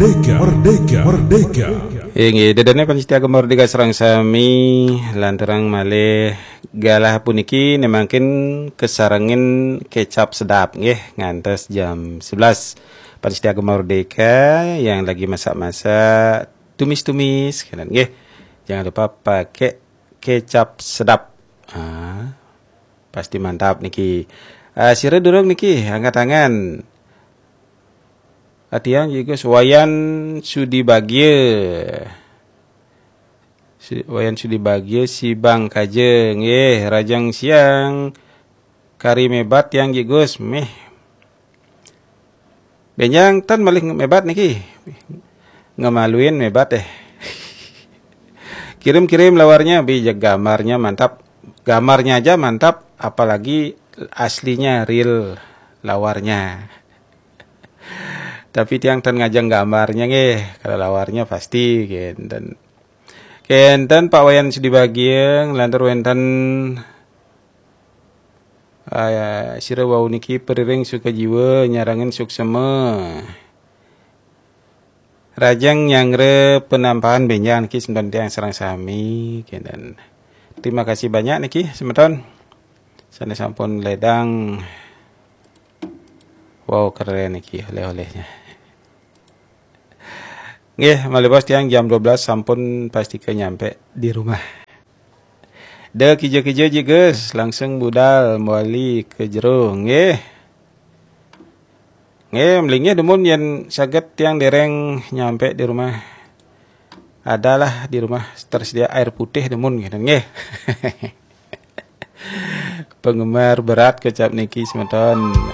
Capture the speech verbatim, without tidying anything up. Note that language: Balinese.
Merdeka, merdeka, merdeka. Inggih, ida dané pamiarsa Gema Merdeka sareng sami, lanturang malih galah puniki né mangkin kasarengin kecap sedap nggih ngantos jam sebelas. Pamiarsa Gema Merdeka yang lagi masak-masak, tumis-tumis, kénten nggih. Jangan lupa pakai kecap sedap. Ah, pasti mantap niki. Ah, sira durung niki angkat tangan. Atiang Jigus Wayan Sudi Bagia. Si, Wayan Sudi Bagia, si Bang Kaja nggih, rajang siang. Kari mébat tiang Jigus, méh. Bénjang tan malih mébat niki. Ngemaluin mébat eh. Kirim-kirim lawarnya, bi, gambarnya mantap. Gambarnya aja mantap, apalagi aslinya, real lawarnya. Tapi tiang tan ngajeng gambarnya nggih, kalau lawarnya pasti kénten. Kénten Pak Wayan Sudi Bagia, lantur wénten, ah, sira wau niki Periring Sukajiwa nyarengin suksema. Rajang nyanggra penampahan bénjang niki semeton tiang sareng sami, kénten. Terima kasih banyak niki semeton. Sané sampun ledang. Wow, keren niki oleh-olehnya. Nggih, malih bos tiang jam dua belas sampun pastika nyampe di rumah. Da kija-kija Jigus, langsung budal mawali ka jero nggih. Nggih, malinggih dumun yén saged tiang déréng nyampe di rumah. Adalah di rumah tersedia air putih dumun nggih. Penggemar berat kecap niki semeton.